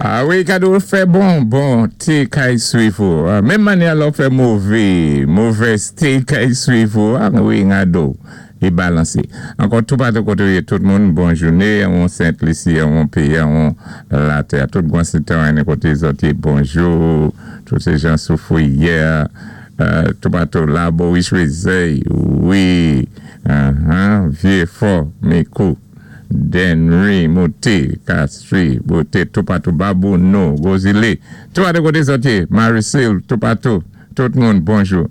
A wi, kado fè bon, bon té kay swiv ou. Menm mannyè lò fè mové, movèz té kay swiv ou. A wi, ngado. I balansé. Ankò toupatou koté ou yé tout moun, bon jouné, an Sent Lisi, an péyi, an latè. Tout gwan sitwayen koté zòt yé, bonjou. Tout sé jan Soufrière, toupatou Laborie, Choiseul, wi, Vieux-Fort, Micoud, Dennery, Mouté, Castries, Bouté, toupatou, Babonneau, Gros Islet, toupatou koté zòt yé, Marie-Cille, toupatou, tout moun, bonjou.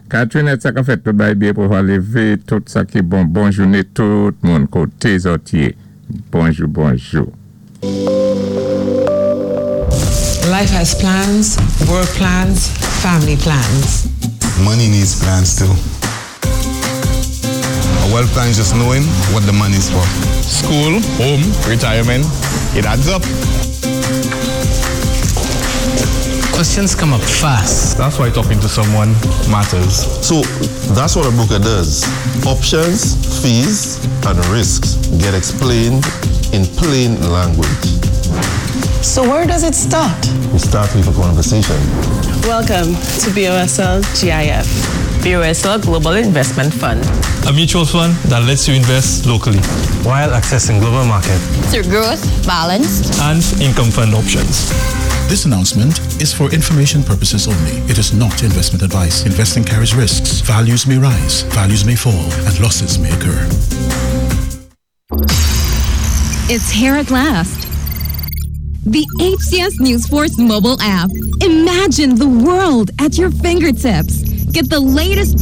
Catherine, sa ka fèt tout bay byen pou lévé, tout sa ki bon, bon jouné, tout moun koté zòt yé. Bonjou, bonjou. Life has plans, work plans, family plans. Money needs plans too. A wealth plan is just knowing what the money is for. School, home, retirement, it adds up. Questions come up fast. That's why talking to someone matters. So that's what a broker does. Options, fees, and risks get explained in plain language. So where does it start? We start with a conversation. Welcome to BOSL GIF. BOSL Global Investment Fund. A mutual fund that lets you invest locally while accessing global market through growth, balanced, and income fund options. This announcement is for information purposes only. It is not investment advice. Investing carries risks. Values may rise, values may fall, and losses may occur. It's here at last. The HCS News Force mobile app. Imagine the world at your fingertips. Get the latest